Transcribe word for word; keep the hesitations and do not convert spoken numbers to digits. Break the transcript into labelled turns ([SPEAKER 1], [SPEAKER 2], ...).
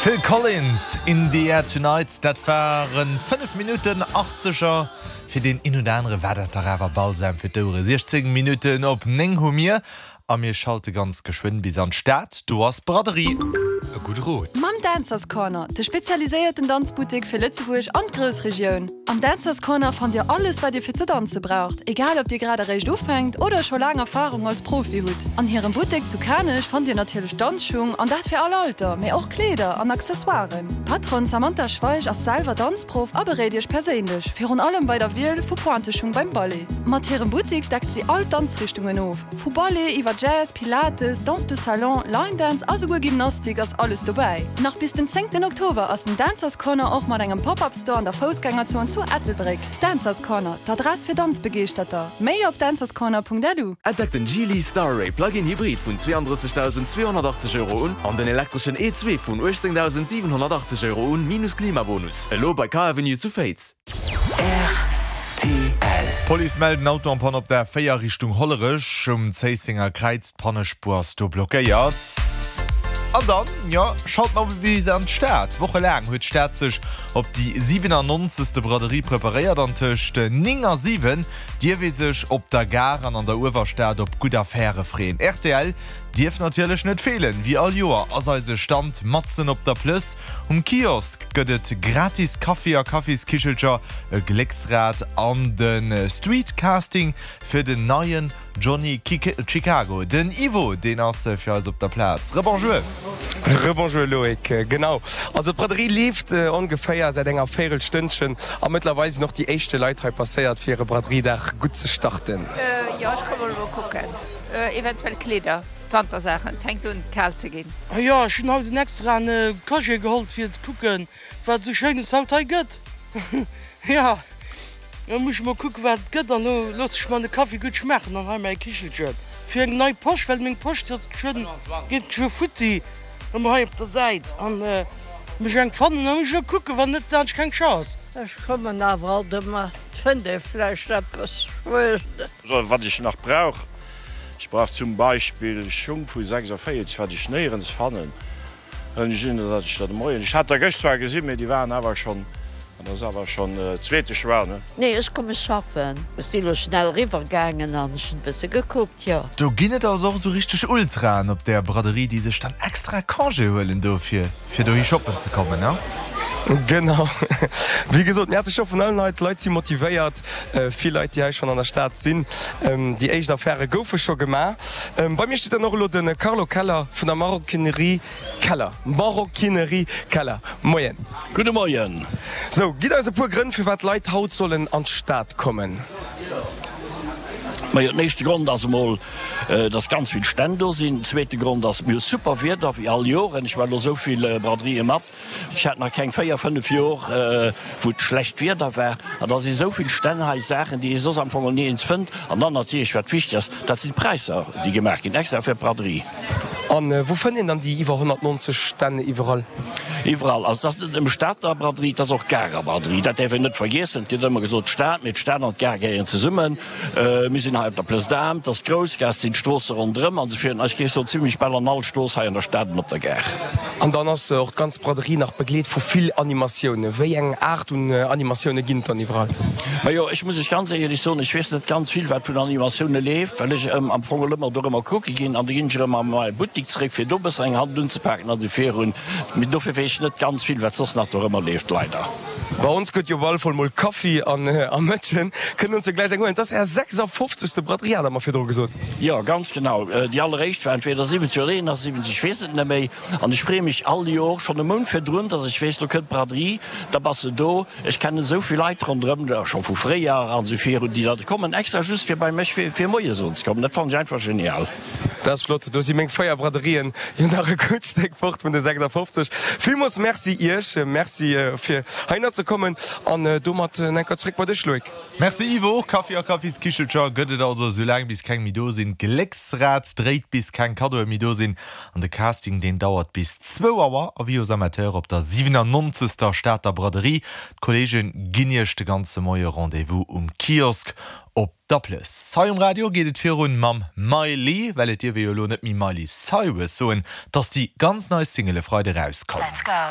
[SPEAKER 1] Phil Collins, In the Air Tonight, dat waren fënnef Minutten Achtzeger. Fir deen een oder anere war dat dach awer Balsam fir d'Ouere. siechzéng Minutten op néng hu mir a mir schalte ganz geschwënn bis an d'Stad. Do ass d'Braderie. E gudde Rot.
[SPEAKER 2] Mam Dancers Corner, de spezialiséierten Danzbuttek fir Lëtzebuerg an d'Groussregioun. Am Dancers Corner fannt Dir alles, wat Dir fir ze danze braucht, egal ob Dir grad eréischt ufänkt oder scho laang Erfarung als Profi hutt. An hirem Buttek zu Kanech fannt Dir natierlech Danzschung, an dat fir all Alter, mee och Kleeder an Accessoiren. D'Patronne Samantha Schweich ass selwer Danzprof a beréit Iech perséinlech, virun allem bei der Wiel vu Pointeschung beim Ballet. Mat hirem Buttek deckt si all Danzrichtungen of, vu Ballet iwwer Jazz, Pilates, Danse de Salon, Line Dance a souguer Gymnastik ass alles dobäi. Nach bis den zéngten Oktober ass den Dancers Corner och mat engem Pop-Up Store an der Foussgängerzon zu Ettelbréck. Dancers Corner, d'Adress fir Danzbegeeschterter. Méi op dancerscorner.lu.
[SPEAKER 3] Entdeckt den Geely Starray Plug-in Hybrid vun zweeandrëssegdausend zweehonnertachtzeg Euro un an den elektreschen E zwee vun uechtzéngdausend siwenhonnertachtzeg Euro un, minus Klimabonus. Elo bei Car Avenue zu Féiz.
[SPEAKER 1] R T L. D'Police mellt en Auto en panne op der véier Richtung Hollerech um Zéissenger Kräiz. D'Pannespuer ass do blockéiert. An dann, jo, schalt mer bis an d'Stad. Wochelaang huet d'Stad sech op déi siwenannonzegste Braderie preparéiert an tëscht néng a siwen dierf ee sech op der Gare an an der Uewerstad op gutt Affäre freeën. R T L dierf natierlech net feelen. Wéi all Joer ass eise Stand matzen op der Plëss. Um Kiosk gëtt et gratis Kaffi a Kaffiskichelcher, e Glécksrad an de Street Casting fir den neien Johnny Chicago. Den Ivo, deen ass fir eis op der Plaz. Rebonjour!
[SPEAKER 4] Rebonjour Loïc, genau. Also d'Braderie leeft ongeféier säit enger Véierelstënnchen a mëttlerweil sinn och déi éischte Leit hei passéiert fir hire Braderiedag gutt ze starten.
[SPEAKER 5] Jo, ech komme mol kucken. Eventuell Kleeder, Wantersaachen, et fänkt un kal ze ginn.
[SPEAKER 6] Jo, ech hunn haut en extraen Congé geholl fir ze kucken, wat esou Schéines haut hei gëtt. Jo, da muss ech mol kucken, wat et gëtt an lo loosse ech mer de Kaffi gutt schmaachen an hei mäi Kichelchen fir eng nei Posch, well meng Posch, déi ass geschwënn, geet geschwë futti, ëmmer hei op der Säit an muss ech eng fannen a muss ech lo kucken, wann net, da hunn ech keng Chance.
[SPEAKER 7] Ech kommen awer alt ëmmer, et fënnt ee vläicht eppes, ech weess net.
[SPEAKER 8] Wat ech nach brauch, ech brauch zum Beispill Schung vu sechsundvierzig, wat ech néierens fannen. Ech sinn, datt ech dat de Moien, ech hat der gëscht zwar gesinn, mee déi waren awer schonn, dat ass awer schonn zweete Choix, ne?
[SPEAKER 7] Nee, ech komme schaffen. Ech si lo schnell riwwer gaangen an ech hunn e bësse gekuckt, jo.
[SPEAKER 1] Do ginn et also och esou richteg Ultraen op där Braderie, déi sech dann extra Congé huelen dofir, fir dohi shoppen ze kommen, ne?
[SPEAKER 4] Genau. Wéi gesot, mir hate scho vun allen Leit, d'Leit si motivéiert, vill Leit, déi hei schonn an der Stad sinn. Déi éischt Affäre goufe scho gemaach. Bei mir steet dann och elo de Carlo Keller vun der Maroquinerie Keller. Maroquinerie Keller, Moien.
[SPEAKER 9] Gudde Moien.
[SPEAKER 4] Sou, gitt eis e puer Grënn, firwat d'Leit haut sollen an d'Stad kommen.
[SPEAKER 9] Majo, den éischte Grond ass emol, dass ganz vill Stänn do sinn. Den zweete Grond ass, mir hu super Wieder, wéi all Joer. Ech war elo esou vill Braderieë mat. Ech hat nach keng véier, fënnef Jor, wou et schlecht Wieder war. An da si sou vill Stänn hei, Saachen, déi ee soss am Fong niergends fënnt. An dann natierlech, wat wichteg ass, dat sinn d'Präisser, déi gemaach ginn, extra fir d'Braderie.
[SPEAKER 4] An wou fënnt een dann déi iwwer honnertnonzeg Stänn iwwerall?
[SPEAKER 9] Iwwerall. Also et ass net nëmme Stater Braderie, et ass och Garer Braderie. Dat däerf een net vergiessen. Et gëtt ëmmer gesot d'Stad, mee d'Stad an d'Gare gehéieren zesummen. Mir sinn hei op der Place d'Armes, et ass d'Groussgaass, et sinn d'Stroosse ronderëm an esou virun. Ech géif soen, zimlech bal an all Strooss hei an der Stad an op der Gare.
[SPEAKER 4] An dann ass och d'ganz Braderie nach begleet vu vill Animatiounen. Wéi eng Aart un Animatioune ginn et dann iwwerall?
[SPEAKER 9] Majo, ech muss lech ganz éierlech soen, ech weess net ganz vill, wat vun Animatioune leeft, well ech am Fong ëmmer dorëmmer kucke ginn an da ginn ech erëm a mäi Buttik zeréck, fir do e bëssen eng Hand unzepaken an esou virun. Mee dofir weess ech net ganz vill, wat soss nach dorëmmer leeft, leider.
[SPEAKER 4] Bei ons gëtt jo op alle Fall mol Kaffi an Mëtschen. Kënnen ons jo gläich eng huelen. Et ass Är sechsafofzegste Braderie, hat Der mer virdru gesot.
[SPEAKER 9] Jo, ganz genau. Déi alleréischt war entweder siwwenzeg oder eenasiwwenzeg, ech weess et net méi. An ech freeë mech all Jor, schonn e Mount virdrun, dass ech weess, lo kënnt d'Braderie, da bass de do. Ech kennen esou vill Leit ronderëm, scho vu fréier an esou virun, déi da kommen extra just fir bei mech fir Moie soen ze kommen. Dat fannen ech einfach genial.
[SPEAKER 4] Dat ass flott. Do si meng véier Braderien jo nach e gutt Stéck fort vun de sechsafofzeg. Villmools Merci Iech. Merci fir heihinner ze kommen. An domat enker zréck bei dech, Loïc.
[SPEAKER 1] Merci Ivo. Kaffi a Kaffiskichelcher gëtt et also esou laang bis keng méi do sinn. D'Glécksrad dréit bis keng Kaddoe méi do sinn. An de Casting deen dauert bis zwou Auer. Avis aux amateurs op der siwenannonzegster Stater Braderie. D'Kolleege ginn Iech de ganze Moie Rendez-vous um Kiosk op der Plëss. Hei um Radio geet et virun mam Miley, well et dierf ee jo elo net méi Miley Cyrus soen, 't ass déi ganz nei Single e Freide rauskomm.
[SPEAKER 10] Let's go.